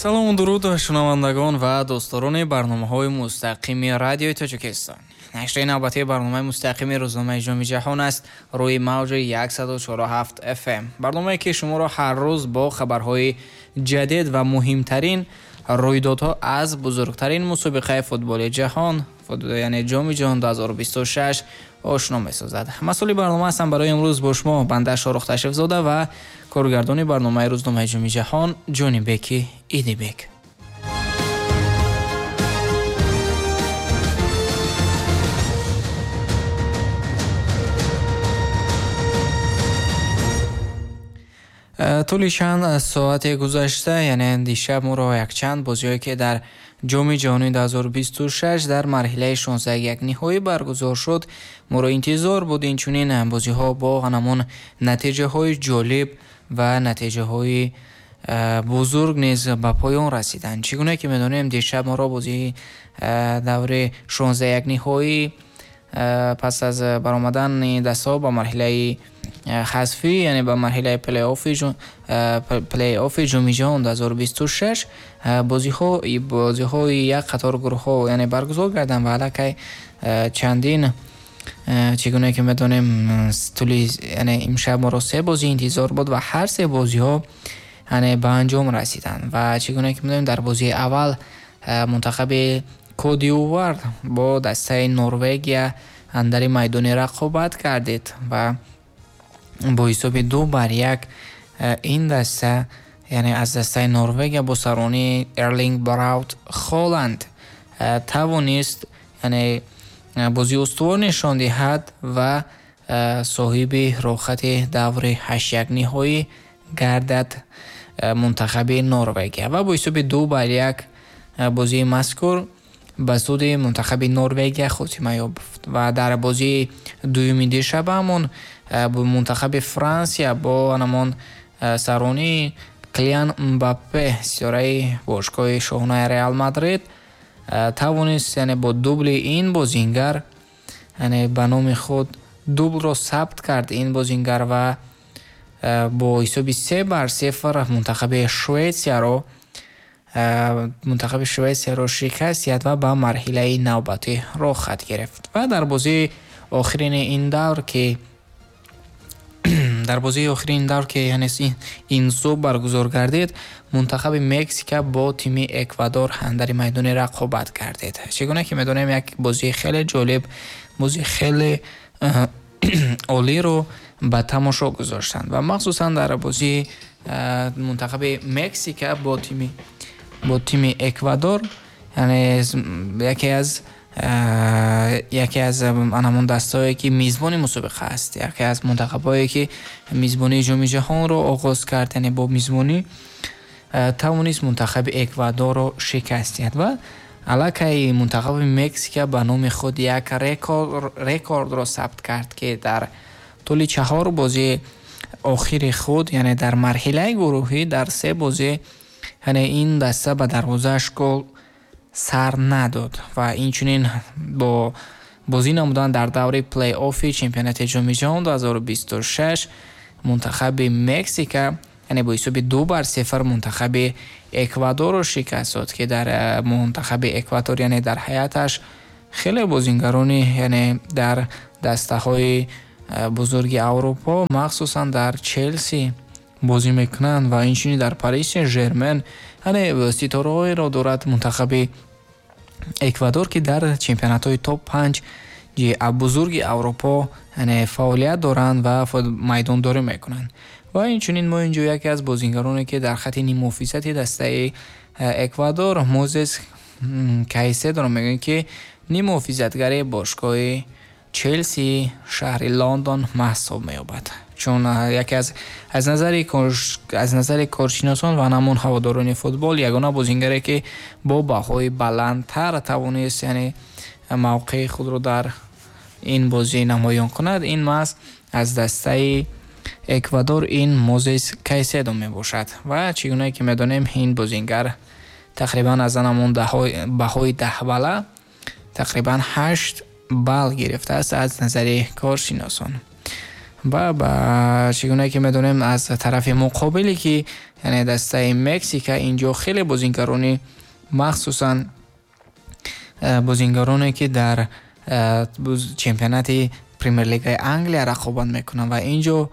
Салому дуруд шунавандагон ва дӯстдорони барномаҳои мустақими радиои Тоҷикистон. Нашри навбатии барномаи мустақими рӯзномаи Ҷоми Ҷаҳон аст рӯи мавҷи 104.7 FM. Барномае ки шуморо ҳар рӯз бо хабарҳои ҷадид ва муҳимтарин рӯйдодҳо аз бузургтарин мусобиқаи футболи ҷаҳон, яъне Ҷоми Ҷаҳон 2026 ошно месозад. Масъули барнома ҳастам барои имрӯз бо шумо банда Шоҳрух Ташрифзода ва коргардони барномаи рӯзномаи Ҷоми Ҷаҳон Ҷонибеки Идибек. Тӯли чанд соати гузашта, яъне дишаб моро якчанд бозиҳое ки дар Ҷоми Ҷаҳони 2026 дар марҳилаи 16 ниҳоӣ баргузор шуд, моро интизор буд. Инчунин бозиҳо бо ҳамон натиҷаҳои ҷолиб ва натиҷаҳои бузург низ ба поён расиданд. Чӣ гуна ки медонем, дишаб моро бозии даври 16 ниҳоӣ пас аз баромадани дастаҳо ба марҳилаи ҳазфӣ, яъне ба марҳилаи плей-оффи Ҷоми Ҷаҳон 2026 бозиҳои як қатор гурӯҳҳо яъне баргузор гарданд ва аллакай чандин, чӣ гуна ки медонем, тӯли яъне имшаб моро се бозӣ интизор буд ва ҳар се бозиҳо яъне ба анҷом расиданд. Ва чӣ гуна ки медонем, дар бозии аввал мунтахаби Кот-д'Ивуар бо дастаи Норвегия андари майдони рақобат кардид ва бо ҳисоби 2-1 ин даста, яъне аз дастаи Норвегия бо саронии Эрлинг Браут Холанд тавонист яъне бозии устувор нишон диҳад ва соҳиби роҳхати даври 8 ниҳоӣ гардад мунтахаби Норвегия ва бо ҳисоби 2-1 бозии мазкур ба суди мунтахаби Норвегия хотима ёфт. Ва дар бозии дуюми дишабаамон мунтахаби Франсия бо ҳамон саронии Килиан Мбаппе, ситораи бошгоҳи шоҳонаи Реал Мадрид, тавонист яъне бо дубли ин бозингар, яъне ба номи худ дублро сабт кард ин бозингар ва бо ҳисоби 3-0 мунтахаби Шветсияро шикаст диҳад ва ба марҳилаи навбатӣ роҳхат гирифт. Ва дар бозии охирини ин давр ки яъне ин субҳ баргузор гардид, мунтахаби Мексика бо тими Эквадор андари майдони рақобат гардид. Чӣ гуна ки медонем, як бозии хеле ҷолиб, бозии хеле олиро ба тамошо гузоштанд ва махсусан дар бозии мунтахаби Мексика бо тими Эквадор, яъне яке аз ҳамон дастаҳое ки мизбони мусобиқа аст, яке аз мунтахабҳое ки мизбонии Ҷоми Ҷаҳонро оғоз кард, яъне бо мизбонӣ тавонист мунтахаби Эквадорро шикаст диҳад ва аллакай мунтахаби Мексика ба номи худ як рекордро сабт кард ки дар тӯли 4 бозии охири худ, яъне дар марҳилаи гурӯҳӣ дар 3 бозӣ, яъне ин даста ба дарвозааш гол сар надод ва инчунин бо бозӣ намудан дар даври плей-оффи чемпионати Ҷоми Ҷаҳон 2026 мунтахаби Мексика, яъне бо ҳисоби 2-0 мунтахаби Эквадорро шикаст дод ки дар мунтахаби Эквадор, яъне дар ҳайаташ хеле бозингарони, яъне дар дастаҳои бузурги Аврупо, махсусан дар Челси бозӣ мекунанд ва инчунин дар Париж Сен-Жермен, яъне ситораҳоеро дорад мунтахаби Эквадор ки дар чемпионатҳои топ 5 бузурги Аврупо яъне фаъолият доранд ва майдондорӣ мекунанд. Ва инчунин мо инҷо яке аз бозингароне ки дар хати ниммуҳофизати дастаи Эквадор Мозес Кайседоро мегӯем ки ниммуҳофизатгари бошгоҳи Челси шаҳри Лондон маҳсуб меёбад. Чун яке аз назари коршиносон ва ҳамон ҳаводорони футбол ягона бозингаре ки бо баҳои баландтар тавонист яъне мавқеи худро дар ин бозӣ намоён кунад, ин маҳз аз дастаи Эквадор ин Мозес Кайседо мебошад. Ва чӣ гуна ки медонем, ин бозингар тақрибан аз ҳамон баҳои 10 балла тақрибан 8 балл гирифтааст аз назари коршиносон. Ва ба чӣ гуна ки медонем, аз тарафи муқобиле ки, яъне дастаи Мексика, инҷо хеле бозингарони, махсусан бозингароне ки дар чемпионати Премер-лигаи Англия рақобат мекунанд, ва инҷо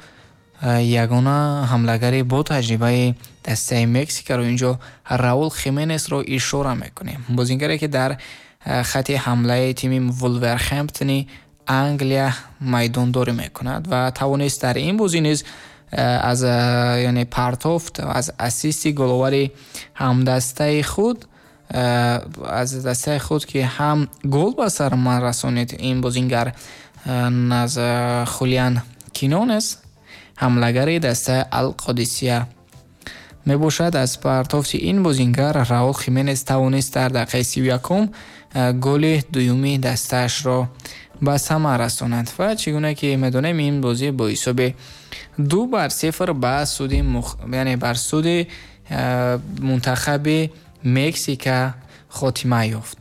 ягона ҳамлагари бо таҷрибаи дастаи Мексикаро инҷо Раул Хименесро ишора мекунем. Бозингаре ки дар хати ҳамлаи тими Вулверхемптони Англия майдондорӣ мекунад ва тавонист дар ин бозӣ низ аз, яъне, партофт, аз ассисти головари ҳамдастаи худ, аз дастаи худ, ки ҳам гол ба сар расонид. Ин бозингар аз Хулиан Кинонес, ҳамлагари дастаи Алқодисия мебошад. Аз партофти ин бозингар Раул Хименес тавонист дар дақиқаи 31-ум голи дуюми дастаашро ба самар расонад. Ва чӣ гуна ки медонем, ин бозӣ бо ҳисоби 2-0 ба суди, яъне бар суди мунтахаби Мексика хотима ёфт.